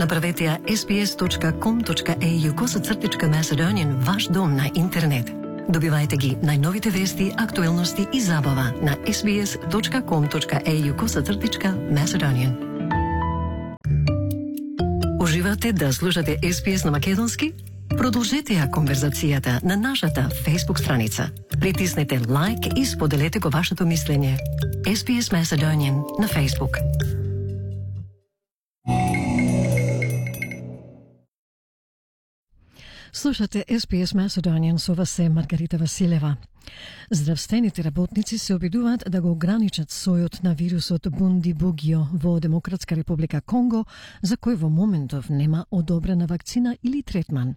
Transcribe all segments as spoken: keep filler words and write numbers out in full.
Направете ја ес би ес точка ком точка ей ю косацртичка Macedonian ваш дом на интернет. Добивајте ги најновите вести, актуелности и забава на ес би ес точка ком точка ей ю косацртичка Macedonian. Уживате да слушате ес би ес на македонски? Продолжете ја конверзацијата на нашата Facebook страница. Притиснете лайк и споделете го вашето мислење. ес би ес Macedonian на Facebook. Слушате ес би ес Macedonian, со вас е Маргарита Василева. Здравствените работници се обидуваат да го ограничат сојот на вирусот Бундибугио во Демократска република Конго, за кој во моментов нема одобрена вакцина или третман.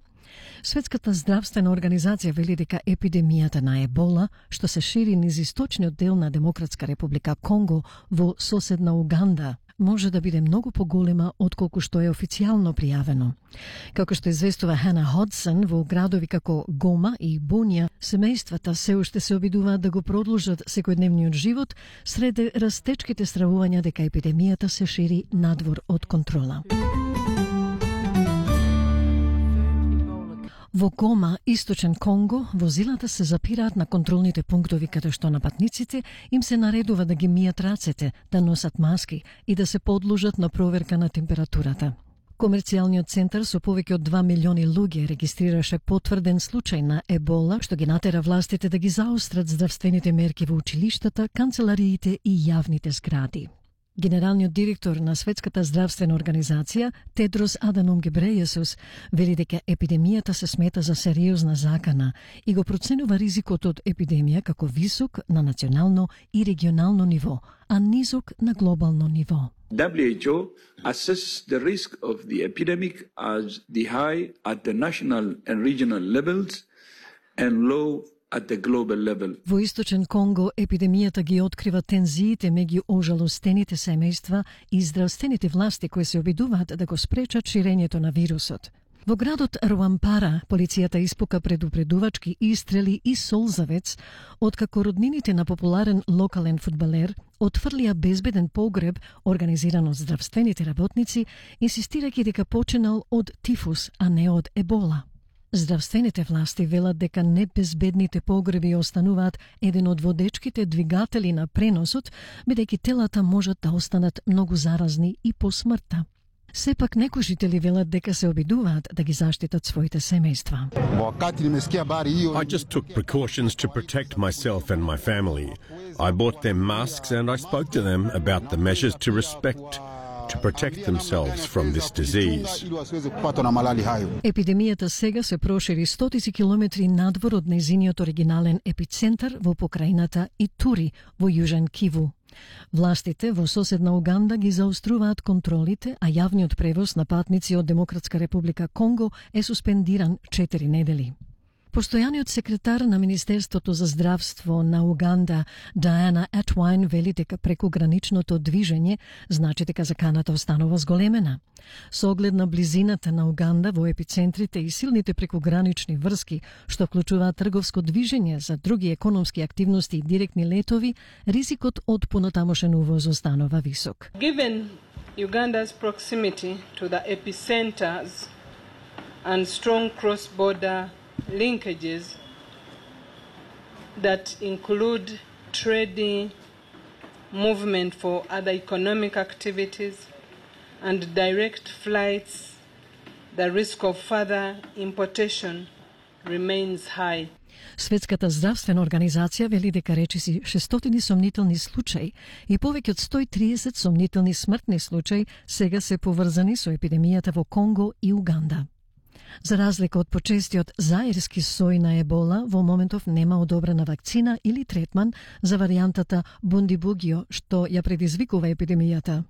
Светската здравствена организација вели дека епидемијата на ебола, што се шири низ источниот дел на Демократска република Конго во соседна Уганда, може да биде многу поголема отколку што е официјално пријавено. Како што известува Хана Ходсон, во градови како Гома и Бунија, семејствата се уште се обидуваат да го продолжат секојдневниот живот сред растечките стравувања дека епидемијата се шири надвор од контрола. Во Гома, источен Конго, возилата се запираат на контролните пунктови каде што на патниците им се наредува да ги мијат рацете, да носат маски и да се подложат на проверка на температурата. Комерцијалниот центар со повеќе од два милиони луѓе регистрираше потврден случај на ебола, што ги натера властите да ги заострат здравствените мерки во училиштата, канцелариите и јавните згради. Генералниот директор на Светската здравствена организација, Тедрос Аданом Гебрејесус, вели дека епидемијата се смета за сериозна закана и го проценува ризикот од епидемија како висок на национално и регионално ниво, а низок на глобално ниво. W H O assesses the risk of the epidemic as the high at the national and regional levels and low at the global level. Во источен Конго епидемијата ги открива тензиите меѓу ожалостените семејства и здравствените власти кои се обидуваат да го спречат ширењето на вирусот. Во градот Руампара полицијата испука предупредувачки истрели и солзавец, откако роднините на популарен локален фудбалер отфрлија безбеден погреб организиран од здравствените работници, инсистирајќи дека починал од тифус, а не од ебола. Здравствените власти велат дека небезбедните погреби остануваат еден од водечките двигатели на преносот, бидејќи телата можат да останат многу заразни и по смртта. Сепак некои жители велат дека се обидуваат да ги заштитат своите семејства. I just took precautions to protect myself and my family. I bought them masks and I spoke to them about the measures to respect to protect themselves from this disease. Епидемијата сега се прошири стотици километри надвор од нејзиниот оригинален епицентар во покрајната Итури во Јужен Киву. Властите во соседна Уганда ги заоструваат контролите, а јавниот превоз на патници од Демократска република Конго е суспендиран четири недели. Постојаниот секретар на Министерството за здравство на Уганда, Диана Атвайн, вели дека прекуграничното движење значи дека заканата останува зголемена. Со оглед на близината на Уганда во епицентрите и силните прекугранични врски, што вклучуваат трговско движење за други економски активности и директни летови, ризикот од понатамошен увоз останува висок. Given Uganda's proximity to the epicenters and strong cross-border linkages that include trading, movement for other economic activities, and direct flights, the risk of further importation remains high. Светската здравствена организација вели дека речиси шестстотини сомнителни случаи и повеќе од сто и триесет сомнителни смртни случаи сега се поврзани со епидемијата во Конго и Уганда. За разлика од почестиот заирски сој на ебола, во моментов нема одобрена вакцина или третман за варијантата Бундибугио, што ја предизвикува епидемијата.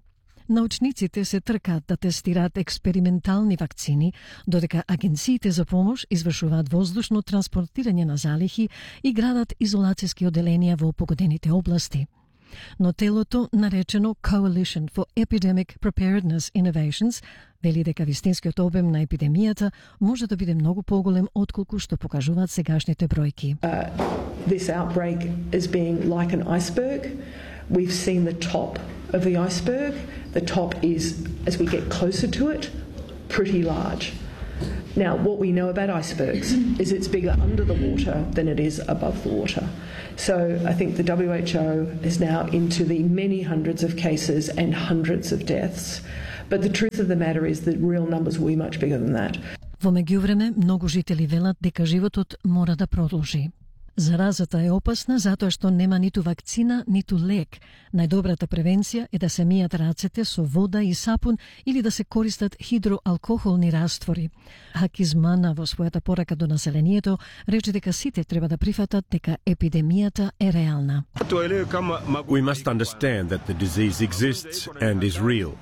Научниците се тркаат да тестираат експериментални вакцини, додека агенциите за помош извршуваат воздушно транспортирање на залихи и градат изолацијски оделенија во погодените области. Но телото, наречено Coalition for Epidemic Preparedness Innovations, вели дека вистинскиот обем на епидемијата може да биде многу поголем отколку што покажуваат сегашните бројки. Uh, this outbreak is being like an iceberg. We've seen the top of the iceberg. The top is, as we get closer to it, pretty large. Now, what we know about icebergs is it's bigger under the water than it is above the water. So I think the W H O is now into the many hundreds of cases and hundreds of deaths. But the truth of the matter is the real numbers will be much bigger than that. Во меѓувреме, многу жители велат дека животот мора да продолжи. Заразата е опасна затоа што нема ниту вакцина, ниту лек. Најдобрата превенција е да се мијат рацете со вода и сапун или да се користат хидроалкохолни раствори. Хакизмана во својата порака до населението рече дека сите треба да прифатат дека епидемијата е реална. We must understand that the disease exists and is real.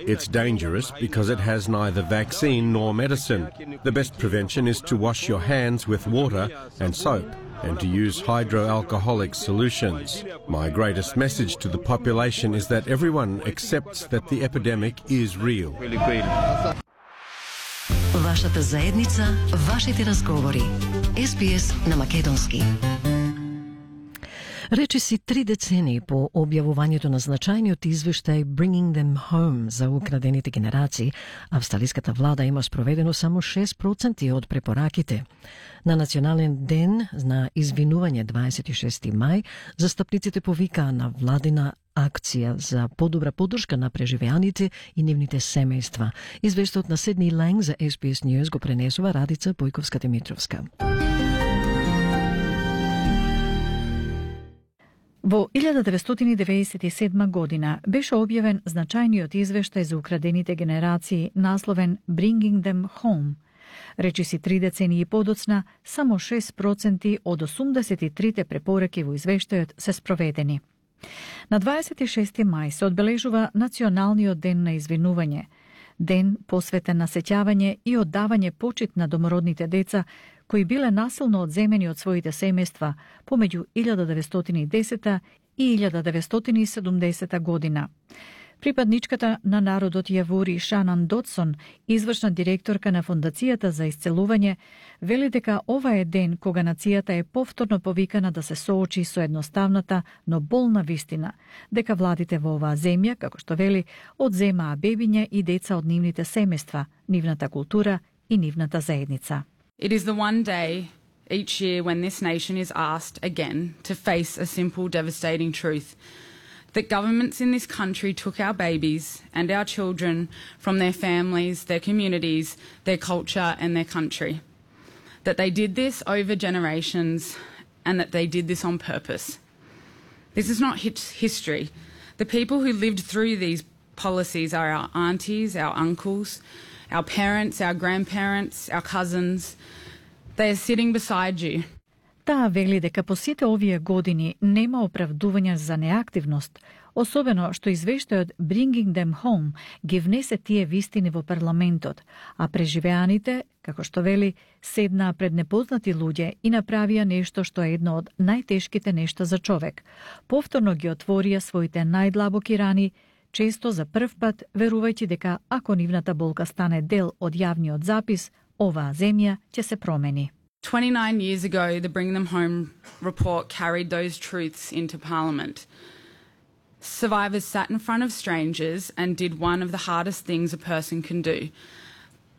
It's dangerous because it has neither vaccine nor medicine. The best prevention is to wash your hands with water and soap and to use hydroalcoholic solutions. My greatest message to the population is that everyone accepts that the epidemic is real. Вашата заедница, вашите разговори. Ес Би Ес на македонски. Речиси три децении по објавувањето на значајниот извештај Bringing Them Home за украдените генерации, австралиската влада има спроведено само шест проценти од препораките. На Национален ден на извинување дваесет и шести мај, застапниците повикаа на владина акција за подобра поддршка на преживеаните и нивните семејства. Извештајот на Седни Ланг за Ес Би Ес News го пренесува Радица Бојковска-Димитровска. Во илјада деветстотини деветдесет и седма година беше објавен значајниот извештај за украдените генерации насловен Bringing Them Home. Речиси три децении подоцна, само шест проценти од осумдесет и трите препораки во извештајот се спроведени. На дваесет и шести мај се одбележува Националниот ден на извинување, ден посветен на сеќавање и оддавање почит на домородните деца кои биле насилно одземени од своите семејства помеѓу илјада деветстотини и десета и илјада деветстотини и седумдесета година. Припадничката на народот Јавори Шанан Дотсон, извршна директорка на Фондацијата за исцелување, вели дека ова е ден кога нацијата е повторно повикана да се соочи со едноставната, но болна вистина, дека владите во оваа земја, како што вели, одземаа бебиња и деца од нивните семејства, нивната култура и нивната заедница. It is the one day each year when this nation is asked again to face a simple, devastating truth. That governments in this country took our babies and our children from their families, their communities, their culture and their country. That they did this over generations and that they did this on purpose. This is not history. The people who lived through these policies are our aunties, our uncles, our parents, our grandparents, our cousins. They are sitting beside you. Таа вели дека по сите овие години нема оправдување за неактивност, особено што извештајот Bringing Them Home ги внесе тие вистини во парламентот, а преживеаните, како што вели, седнаа пред непознати луѓе и направија нешто што е едно од најтешките нешта за човек. Повторно ги отворија своите најдлабоки рани, често за прв пат верувајќи дека ако нивната болка стане дел од јавниот запис, оваа земја ќе се промени. twenty-nine years ago, the Bring Them Home report carried those truths into Parliament. Survivors sat in front of strangers and did one of the hardest things a person can do.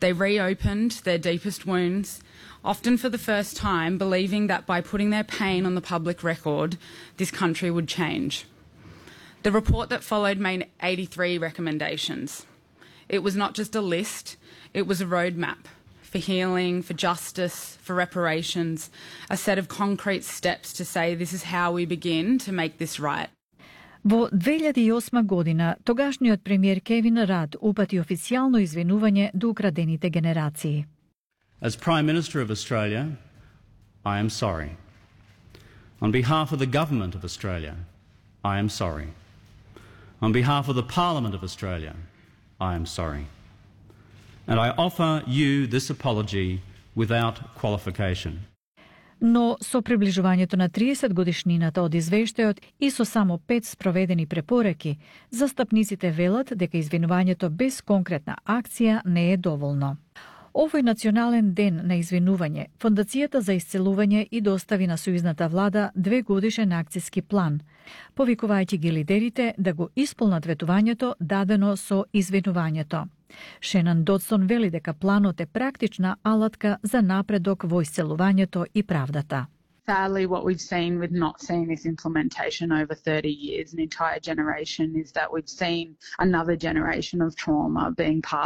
They reopened their deepest wounds, often for the first time, believing that by putting their pain on the public record, this country would change. The report that followed made eighty-three recommendations. It was not just a list, it was a roadmap for healing, for justice, for reparations, a set of concrete steps to say this is how we begin to make this right. Во две илјади и осма година, тогашниот премиер Кевин Рад упати официјално извинување до украдените генерации. As Prime Minister of Australia, I am sorry. On behalf of the Government of Australia, I am sorry. On behalf of the Parliament of Australia, I am sorry. And I offer you this apology without qualification. Но со приближувањето на триесет годишнината од извештајот и со само пет спроведени препораки, застапниците велат дека извинувањето без конкретна акција не е доволно. Овој национален ден на извинување, Фондацијата за исцелување и достави на сојузната влада две годишен акцијски план, повикувајќи ги лидерите да го исполнат ветувањето дадено со извинувањето. Шенан Додсон вели дека планот е практична алатка за напредок во исцелувањето и правдата. Sadly, what we've seen with not seeing this implementation over thirty years, an entire generation, is that we've seen another generation of trauma being passed